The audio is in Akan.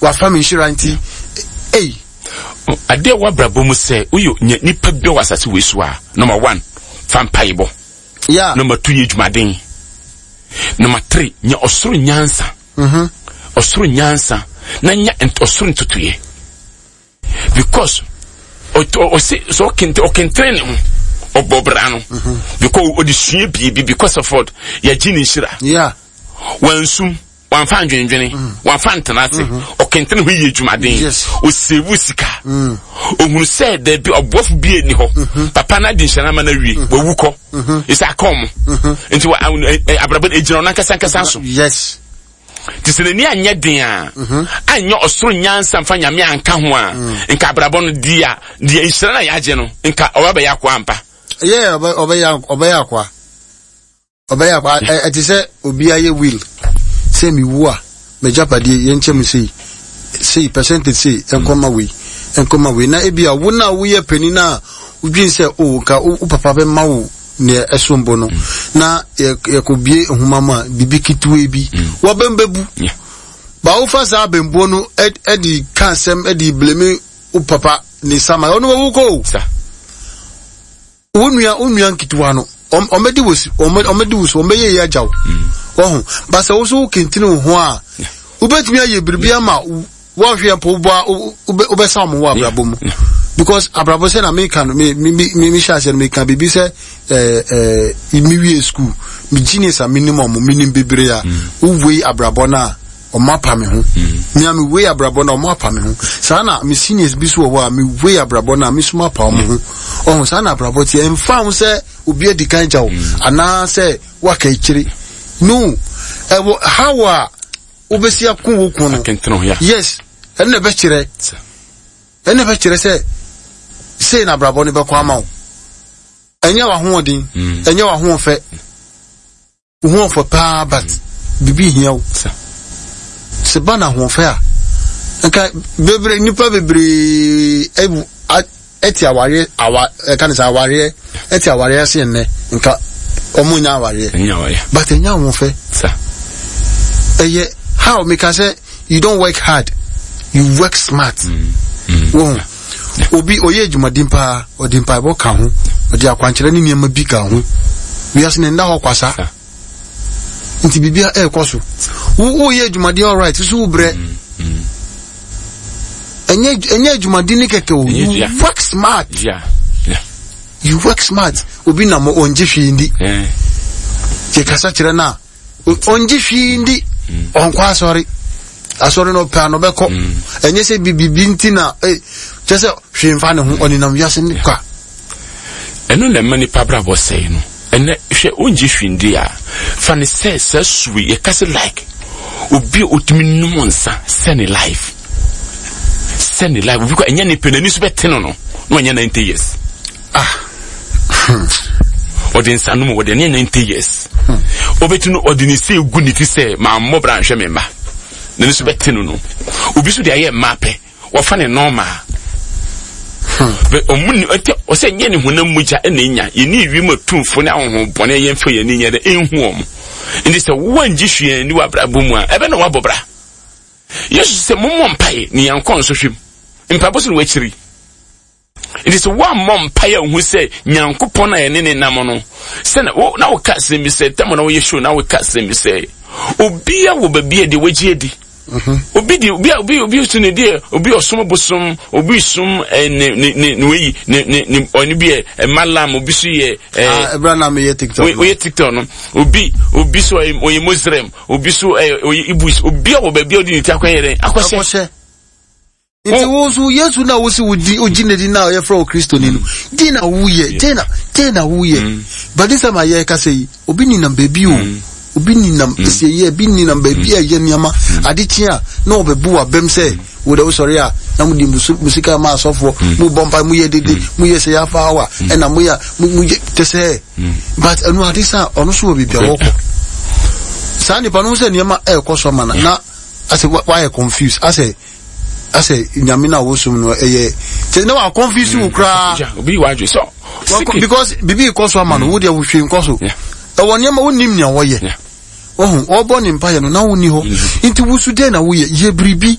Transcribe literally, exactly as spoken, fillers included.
Wafa me nhyira nti ei. Adeɛ wɔ abrabɔ mu sɛ woyɛ nya nipa bi wɔ asase wei so a, number one, fa mpaebɔ. Yeah. Number two, yɛ adwumaden. Number three, nya ɔsoro nyansa. Mm-hmm. Ɔsoro nyansa na nya ɔsoro ntotoeɛ, because ɔse sɛ ɔkente ɔkentene ne ho ɔbɔ bra no mm-hmm. because ɔde sua biribi, because of what yɛgye ne nhyira. Yeah. Wansum, wamfa ndwendwene, mm. wamfa ntena ase, mm-hmm. ɔkentene ho yɛ adwumaden, ɔsave sika, mm. ohunu sɛ daabi, ɔboafo bi ani hɔ. Mm-hmm. Papa no adi nhyɛn ama no awie, wawu kɔ, ɛsɛ aka ɔmo nti abrabɔ egyina ɔno ankasa ankasa so. Yes. Nti sɛ n'ani anyɛ den a, anyɛ ɔsoro nyansa mfa Nyame anka ho a, nka abrabɔ no di a deɛ nhyira no a yɛagye no, nka ɔbɛbɛyɛ akoa ampa. Yeah, ɔbɛyɛ ɔbɛyɛ akoa, ɔbɛyɛ akoa. Ɛte sɛ obi ayɛ will sɛ mewu a, m'agyapadeɛ yɛnkyɛ mu sei sei, percentage sei nkɔma wei, nkɔma wei, na ebi a wo na woyɛ panin a wodwen sɛ o nka wo papa bɛma wo nea ɛsom bo no, na yɛkɔbie nhoma mu a, biribi ketewa bi wɔbɛn bɛbu ba, wofa saa abɛnbuo no ɛde ka asɛm, ɛde blame wo papa ne sama. Ɔno wawu kɔ o, wo nua wo nua nketewa no ɔmɛdi wo si, ɔmɛdi wo so, ɔmɛyɛ yɛ agya wo wɔho basa. Wo so wo kentene wo ho a, wobɛtumi ayɛ biribi ama wɔhwɛ mpo wobɔ wobɛsa wɔn wɔ abrabɔ mu, because abrabɔ sɛ na meka no, me me me me hyɛ aseɛ no, meka biribi sɛ ɛɛ ɛɛ me wie school, me genius a menim ɔmo, menim bebree a wowei abrabɔ no a, ɔmo apa me ho. Me a me wei abrabɔ no a, ɔmo apa me ho. Saa na me seniors bi so wɔ hɔ a, me wei abrabɔ no a, me so apa ɔmo ho. Ɔho saa na abrabɔ teɛ. Ɛmfa ho sɛ obi adi kan gya wo anaasɛ waka akyire no, ɛwɔ how a wobɛsi ako wo ko no. Yes, ɛno na ɛbɛkyerɛ ɛno na ɛbɛkyerɛ sɛ sei na abrabɔ no bɛkɔ ama wo. Ɛnyɛ w'ahoɔden, ɛnyɛ w'ahoɔfɛ, wo ho ɔfɔ paa, but biribi hia wo. Sɛ ba na ahoɔfɛ a, nka bebree, nipa bebree ɛbu ɛte awareɛ awa, ɛka ne sɛ awareɛ, ɛte awareɛ ase nnɛ, nka ɔmo nya awareɛ, but ɛnyɛ ahoɔfɛ. Ɛyɛ how meka sɛ you don't work hard, you work smart. Wɔn obi ɔyɛ adwumaden paa, ɔde mpaebɔ ka ho, ɔde akwankyerɛ ne nneɛma bi ka ho. Wiase ne nda hɔ kwasa, nti biribia ɛrekɔ so. Wo woyɛ adwumaden, alright, so wo brɛ. ɛnyɛ ɛnyɛ adwumaden ne kɛkɛ o, you work smart. Yeah. Yeah. You work smart. Obi nam ɔngye hwee ndi, yɛkasa kyerɛ no a, ɔngye hwee ndi, ɔnkɔ asɔre. Asɔre no ɔpɛ ano bɛkɔ, ɛnyɛ sɛ bibibi nti na kyɛ sɛ hwee mfa ne ho, ɔnenam wiase ne kwa. Ɛno na ɛma nipa abrabɔ sɛe no. Ɛnɛ hwɛ, wongye hwee ndi a, fa ne sɛ saa sue yɛka sɛ like obi a otumi nom nsa sɛ ne life sɛ ne life obi kɔ, ɛnyɛ ne pɛ, n'ani so bɛte no no na wanya ninety years. Ah. Ɔde nsa nom, wɔde ne ninety years ɔbɛti no, ɔde ne se egu ne ti sɛ maa mmɔ bra nhwɛ me mma, n'ani so bɛte no no obi so de ayɛ mmaa pɛ, wɔfa ne normal. Ɔmu ni ɔtɛ ɔsɛ nyɛ ne honam mogya ɛna enya yɛne ewiem atumfo ne ahohom bɔne, yɛmfa yɛn ani nyɛ dɛ ɛnhu wɔn. Nti sɛ wɔngye hwee ni wɔ abrabɔ mu a, ɛbɛ na wabɔ bra. Yesu sɛ mommɔ mpae ne yɛn nkɔ nsɔhwɛ mu. Mpaebɔ so na wakyiri. Nti sɛ woammɔ mpae a, wohu sɛ Nyankopɔn a yɛne ne nam no sɛ na wo na woka asɛm bi sɛ tam na woyɛ show na woka asɛm bi sɛ obia wɔ baabi a deɛ wagye adi. Obi di obi obi obi so ne deɛ, obi ɔsom bosom, obi som ɛ ne ne ne ne weyi ne ne ne ɔne bi yɛ ɛ malam, obi so yɛ ɛ. Ɛbɛrɛ na meyɛ TikTok. Oyɛ TikTok no, obi obi so ɔyɛ ɔyɛ Muslim, obi so ɛ ɔyɛ Ibus. Obi a wɔ baabi a ɔde ne ti akɔyɛ dɛ akɔhyɛ. Akɔhyɛ. Nti wo nso, Yesu na wosi wo di ogyi n'adi na ɔyɛfrɛ wo Kristoni no, di na woyɛ den na den na woyɛ. But this time a yɛrekasa yi, obi ninam baabi o, obi ninam esieyɛ, obi ninam baabi a ɛyɛ nneɛma ade kye a na ɔbɛbu w'abam sɛ wo de wosɔre a na mo di musika ma asɔfoɔ, mo bɔ mpa, mo yɛ dede, mo yɛ sɛ yɛafa awa ɛna mo yɛ mo mo yɛ te sɛ, but ɛno ade sa ɔno so wɔ baabi a wɔkɔ. Saa nipa no ho sɛ nneɛma ɛrekɔ so ama na na asɛ wayɛ confused, asɛ asɛ Nyame no a wosom no ɛyɛ kyɛ na wa confuse wo koraa. Obi wa adwe so. Because bibi kɔ so ama no, wo deɛ wohwee nkɔ so. Ɛwɔ nneɛma wonim nea wɔyɛ, ɔho ɔbɔ ne mpaeɛ no na wonni hɔ. Nti wusu dɛn na woyɛ yɛ biribi.